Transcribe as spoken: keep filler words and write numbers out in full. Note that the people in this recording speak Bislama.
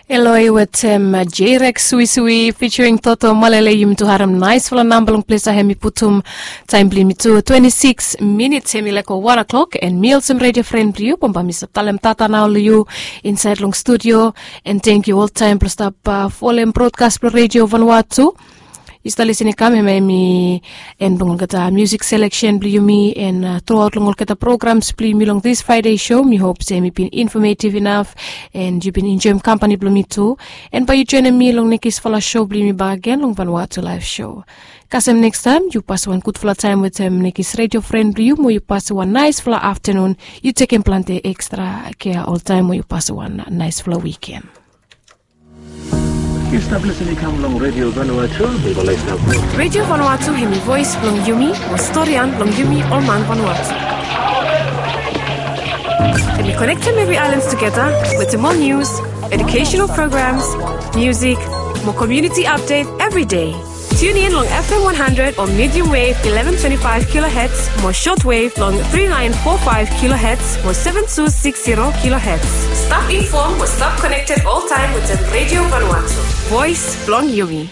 Eloi wetem J-Rex Suisui featuring Toto Malele. Yumi tu harem naisfala namba long ples ya, hemi putum taem blong yumi tu twenti sikis minits, hemi laek go wan o'klok, and mi olsem redio fren blong yu, bambae mi stap talem tata nao long yu insaed long studio. And tangkiu oltaem blong stap folem brodkas blong Redio Vanuatu. Yu stap lisin i kam, hemia hemi en blong olgeta musik seleksen blong yumi, and truaot long olgeta programs blong yumi long this Friday show. Mi hop se hemi bin infometiv inaf, and yu bin enjoem kampani blong mi tu. And bae yu joenem mi long nekisfala show blong yumi bakegen long Vanuatu Laef Show. Kasem nekis taem yu pasem wan gudfala taem wetem nekis redio fren blong yu, mo yu pasem wan naisfala aftanun. Yu tekem plante ekstra kea oltaem, mo yu pasem wan naisfala wiken. Yu stap lisin i kam long Redio Vanuatu. Redio Vanuatu hemi voes blong yumi, mo storian blong yumi ol man Vanuatu. Hemi konektem evri aelan tugeta wetem ol nius, educational programs, musik, mo komuniti apdet evri dei. Tune in long F M one hundred o medium wave eleven twenty-five kilohertz, mo shortwave long three nine four five kilohertz, mo seven two six zero kilohertz. Stap infom mo stap konekted oltaem wetem Redio Vanuatu, voes blong yumi.